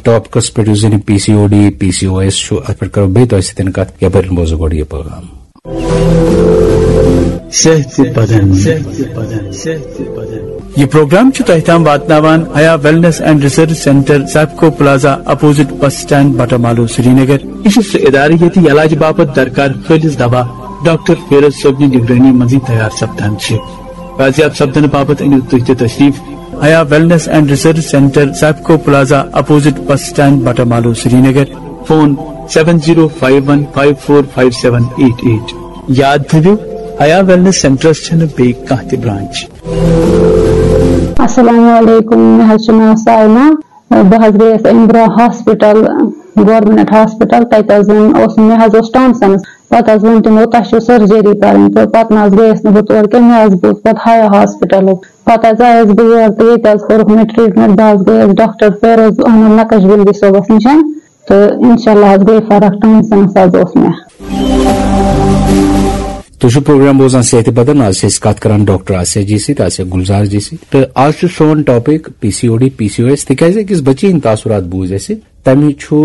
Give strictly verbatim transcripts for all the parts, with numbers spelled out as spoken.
Topics پٮ۪ٹھ، یُس زن P C O D, P C O S چھُ، اتھ پٮ۪ٹھ کرو بیٚیہِ تۄہہِ سۭتۍ کتھ۔ یپٲرۍ بوزو گۄڈٕ یہِ پروگرام۔ صحت بدن۔ یہ پروگرام چھُ تۄہہِ تام واتناوان Haya wellness and research centre, Sipco plaza, opposite bus stand, Batamaloo, Srinagar. یہ چھُ سُہ ادارٕ ییٚتہِ علاج باپتھ درکار خٲلص دوا ڈاکٹر فیروز صٲبنہِ نگرٲنی منٛزٕے تیار سپدان چھِ۔ بازیاب سپدنہٕ باپتھ أنِو تُہۍ تہِ تشریف Haya wellness and research centre, Sipco plaza, opposite bus stand, Batamaloo, Srinagar. Phone seven zero five one five four five seven eight eight. یاد تھٲوِو، حیا ویلنس سینٹرس چھنہٕ بیٚیہِ کانٛہہ تہِ برانچ۔ السلام علیکم، مےٚ حظ چھُ ناو سایمہ۔ بہٕ حظ گٔیَس اَمہِ برٛونٛہہ ہاسپِٹل، گورمنٹ ہاسپِٹل، تَتہِ حظ اوٚن، اوس، مےٚ حظ اوس ٹانسنس۔ پتہٕ حظ ووٚن تِمو، "تۄہہِ چھو سرجری کرٕنۍ"، تہٕ پتہٕ نہ حظ گٔیَس نہٕ بہٕ تور کینٛہہ، مےٚ حظ بوٗز پتہٕ حیا ہاسپِٹلُک۔ پتہٕ حظ آیَس بہٕ یور تہٕ ییٚتہِ حظ کوٚرُکھ مےٚ ٹریٹمنٹ، بہٕ حظ گٔیَس ڈاکٹر فیروز احمد نقش بلدی صٲبَس نِش، تہٕ انشاءاللہ حظ گٔے فرق، ٹانسنس حظ اوس مےٚ۔ تُہۍ چھِو پروگرام بوزان صحت بدن۔ آز چھِ أسۍ کتھ کران ڈاکٹر آسیا جی سۭتۍ، آسیا گلزار جی سۭتۍ۔ تہٕ آز چھُ سون topic P C O D, P C O S, تِکیازِ أکِس بچی ہٕنٛدۍ تاثرات بوٗزۍ اَسہِ۔ تٔمۍ چھُ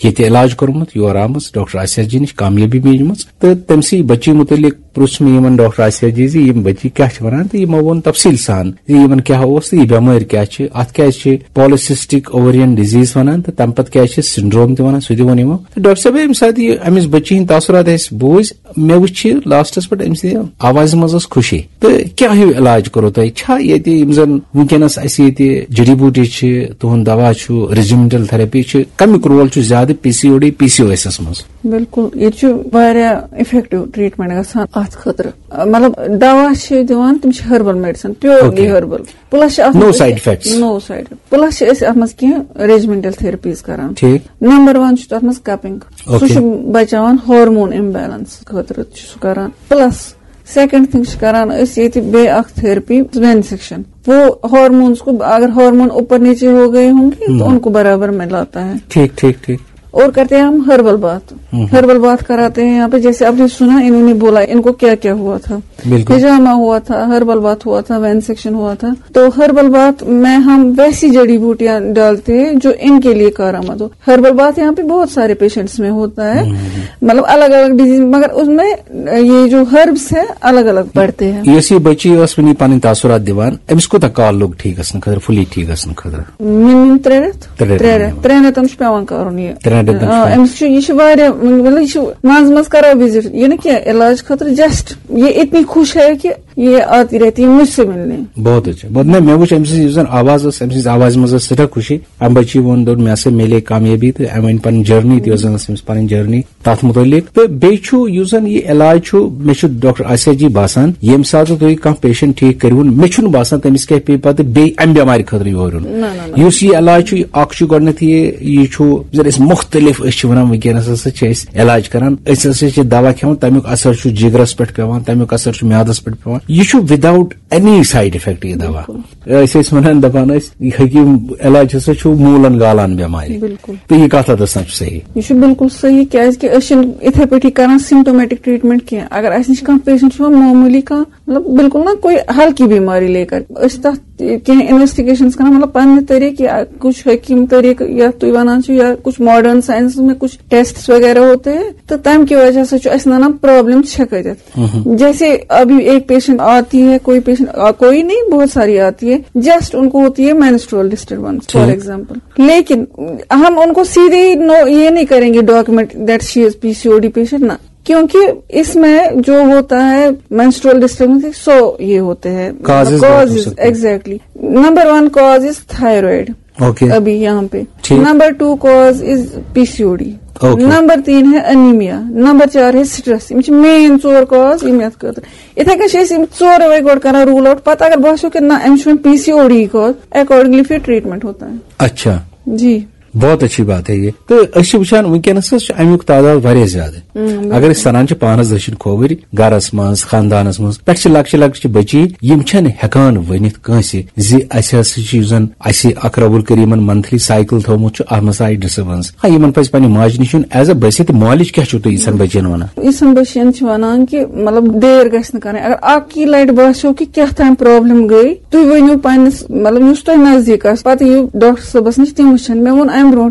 ییٚتہِ علاج کوٚرمُت، یور آمٕژ، ڈاکٹر آسیا جی نِش کامیٲبی میٖجمٕژ۔ تہٕ تٔمۍ سٕے بچی مُتعلق پرُژھ مےٚ یِمن ڈاکٹر آسیا جی زِ یِم بچی کیاہ چھِ ونان، تہٕ یِمو ووٚن تفصیٖل سان زِ یِمن کیاہ اوس تہٕ یہِ بٮ۪مٲرۍ کیاہ چھِ، اتھ کیازِ چھِ پالسسٹک اوورین ڈیزیز ونان، تہٕ تمہِ پتہٕ کیازِ چھِ سنڈروم تہِ ونان، سُہ تہِ ووٚن یِمو۔ تہٕ ڈاکٹر صٲب، ییٚمہِ ساتہٕ یہِ امِچ بچی ہٕنٛدۍ تاثرات اَسہِ بوٗزۍ، مےٚ وٕچھ یہِ لاسٹس پٮ۪ٹھ أمۍ سٕنٛدِ آوازِ منٛز ٲس خوشی۔ تہٕ کیٛاہ ہیوٗ علاج کوٚروٕ تۄہہِ؟ چھا ییٚتہِ یِم زن وٕنکیٚنس اَسہِ ییٚتہِ جڑی بوٗٹی چھِ، تُہُنٛد دوا چھُ، ریجیمنٹل تھراپی چھِ، کمیُک رول چھُ زیادٕ P C O D, P C O S منٛز؟ بِلکُل، ییٚتہِ چھُ واریاہ افیکٹو ٹریٹمنٹ گژھان اتھ خٲطرٕ۔ مطلب، دوا چھِ دِوان، تِم چھِ herbal medicine, purely okay. Herbal. Plus چھِ اتھ No منٛز side effects۔ No side۔ Plus چھِ أسۍ اتھ منٛز کینٛہہ ریجیمنٹل تھراپیز کران۔ ٹھیٖک۔ نمبر ون چھُ تتھ منٛز کپنگ۔ سُہ اوکے۔ چھُ بچاوان ہارمون امبیلنس خٲطرٕ چھُ سُہ کران۔ پلس سیکنڈ تھنگ چھِ کران أسۍ ییٚتہِ بیٚیہِ اکھ تھراپی، وین سیکشن۔ وہ ہارمونس کو، اگر ہارمون اوپر نیچے ہو گئے ہوں گے تو ہم۔ ان کو برابر میں لاتا ہے۔ ٹھیک، ٹھیک، ٹھیک۔ اور کرتے ہیں ہم ہربل باتھ۔ ہم۔ ہربل باتھ کراتے ہیں یہاں پہ، جیسے آپ نے سنا انہوں نے بولا ان کو کیا کیا ہوا تھا۔ بالکل۔ ہجامہ ہوا تھا، ہربل باتھ ہوا تھا، وین سیکشن ہوا تھا۔ تو ہربل باتھ میں ہم ویسی جڑی بوٹیاں ڈالتے ہیں جو ان کے لیے کارآمد ہو۔ ہربل باتھ یہاں پہ بہت سارے پیشنٹس میں ہوتا ہے، ہم۔ مطلب الگ الگ ڈیزیز، مگر اس میں یہ جو ہربس ہیں الگ الگ پڑتے ہیں۔ یۄس یہِ بچی ٲس وٕنی پنٕنۍ تاثرات دِوان، أمِس کوٗتاہ کال لوٚگ ٹھیٖک گژھنہٕ خٲطرٕ، فُلی ٹھیٖک گژھنہٕ خٲطرٕ؟ منیمم ترٛےٚ رٮ۪تھ۔ ترٛےٚ رٮ۪تھ ترٛےٚ منیمم۔ رٮ۪تھ، ترٛٮ۪ن رٮ۪تن چھُ پٮ۪وان کرُن یہِ۔ ترٛٮ۪ن رٮ۪تن چھُ آ، پٮ۪وان۔ أمِس چھُ، یہِ چھُ واریاہ، مطلب، یہِ چھُ منٛزٕ منٛزٕ کران وِزٹ، یہِ نہٕ کینٛہہ، علاج خٲطرٕ جسٹ۔ یہ اتنی خوش ہے کہ یہ آتی رہتی ہے مجھ سے ملنے۔ بہت اچھا، بہت۔ نہ، مےٚ وٕچھ أمۍ سٕنٛز یُس زن آواز ٲس، أمۍ سٕنٛز آوازِ منٛز ٲس سٮ۪ٹھاہ خوشی۔ اَمہِ بچی ووٚن، دوٚپ، "مےٚ ہسا میلے کامیٲبی"، تہٕ أمۍ ؤنۍ پنٕنۍ جرنی تہِ، یۄس زن ٲس أمِس پنٕنۍ جرنی۔ تتھ متعلق۔ تہٕ بیٚیہِ چھُ یُس زن یہِ علاج چھُ، مےٚ چھُ ڈاکٹر آسیا جی باسان، ییٚمہِ ساتہٕ تُہۍ کانٛہہ پیشنٹ ٹھیٖک کٔرِوُن، مےٚ چھُنہٕ باسان تٔمِس کیٛاہ پیٚیہِ پتہٕ بیٚیہِ امہِ بٮ۪مارِ خٲطرٕ یور یُن۔ نہ، نہ، نہ۔ یُس یہِ علاج چھُ، یہِ اکھ چھُ گۄڈٕنٮ۪تھ یہِ، یہِ چھُ زن أسۍ مُختٔلِف، أسۍ چھِ ونان وٕنکیٚنس ہسا چھِ أسۍ علاج کران، أسۍ ہسا چھِ دوا کھٮ۪وان، تمیُک اثر چھُ جگرس پٮ۪ٹھ پٮ۪وان، تمیُک اثر چھُ میادس پٮ۪ٹھ پٮ۪وان۔ یہِ چھُ without any side effect یہِ دوا۔ بِلکُل۔ أسۍ ٲسۍ ونان، دپان ٲسۍ، یہِ حکیٖم علاج ہسا چھُ موٗلن گالان بٮ۪مارِ۔ بِلکُل۔ تہٕ یہِ کتھ حدس تام چھُ صحیح؟ یہِ چھُ بِلکُل صحیح، کیازِ کہِ أسۍ چھِنہٕ اِتھے پٲٹھی کران سمٹومیٹک ٹریٹمنٹ کینٛہہ۔ اگر اسہِ نِش کانٛہہ پیشنٹ چھُ یِوان معموٗلی کانٛہہ، مطلب، بِلکُل نہ کوئی ہلکی بیماری لے کر، أسۍ چھِ تتھ کینٛہہ انویسٹیگیشنز کران، مطلب، پننہِ طریقہٕ یا کچھ حکیٖم طریقہٕ، یا تُہۍ ونان چھِو، یا کچھ ماڈرن ساینسس میں کچھ ٹیسٹس وغیرہ ہوتے ہیں، تو تمہِ کہِ وجہ سۭتۍ چھُ اسہِ ننان پرابلم چھےٚ کتٮ۪تھ۔ جیسے ابھی ایک پیشنٹ آتی ہے، کوئی پیشنٹ، آ، کوئی نہیں، بہت ساری آتی ہے، جسٹ ان کو ہوتی ہے مینسٹرول ڈسٹربنس، فار ٹھیک۔ ایگزامپل۔ لیکن ہم ان کو سیدھے ہی نو، یہ نہیں کریں گے document that she is P C O D patient, نہ، کیونکہ اس میں جو ہوتا ہے مینسٹرول ڈسٹربنس، سو یہ ہوتے ہیں، causes, causes, exactly. Number one cause is thyroid. Okay. ابھی یہاں پہ۔ ٹھیک۔ Number two cause is P C O D. Okay. Number تین ہے انیمیا۔ نمبر چار ہے سٹریس۔ یِم چھِ مین ژور کاز یِم یتھ خٲطرٕ۔ یِتھے کٔنۍ چھِ أسۍ یِم ژورے وۄنۍ گۄڈٕ کران روٗل آوٹ۔ پتہٕ اگر باسیو کہِ نہ، أمِس چھُ وۄنۍ پی سی او ڈی کاز، اکارڈنگلی پھر ٹریٹمنٹ ہوتا ہے۔ اچھا۔ جی۔ بہت اچھی بات ہے یہ۔ تہٕ أسۍ چھِ وٕچھان وٕنکیٚنس حظ چھُ امیُک تعداد واریاہ زیادٕ۔ اگر أسۍ سنان چھِ پانس دٔچھِنۍ کھووٕرۍ گرس منٛز، خاندانس منٛز، پٮ۪ٹھٕ چھِ لۄکچہِ لۄکچہِ بچی، یِم چھنہٕ ہٮ۪کان ؤنِتھ کٲنٛسہِ زِ اسہِ ہسا چھُ، یُس زن اسہِ اقرب الکریمن منتھلی سایکل تھوومُت چھُ، اتھ منٛز آیہِ ڈسٹربنس۔ ہاں، یِمن پزِ پننہِ ماجہِ نِش یُن ایز اے بچہِ تہِ، مالِج کیٛاہ چھِو تُہۍ یِژھن بچین ونان؟ یِژھن بچین چھِ ونان کہِ، مطلب، دیر گژھِ نہٕ کرٕنۍ۔ اگر اکھ یہِ لٹہِ باسیو کہِ کیٛاہ تام پرابلم گٔے، تُہۍ ؤنِو پننِس، مطلب، یُس تۄہہِ نزدیٖک آسہِ، پتہٕ یِیِو ڈاکٹر صٲبس نِش، تِم وٕچھن۔ مےٚ ووٚن امہِ برونٛٹھ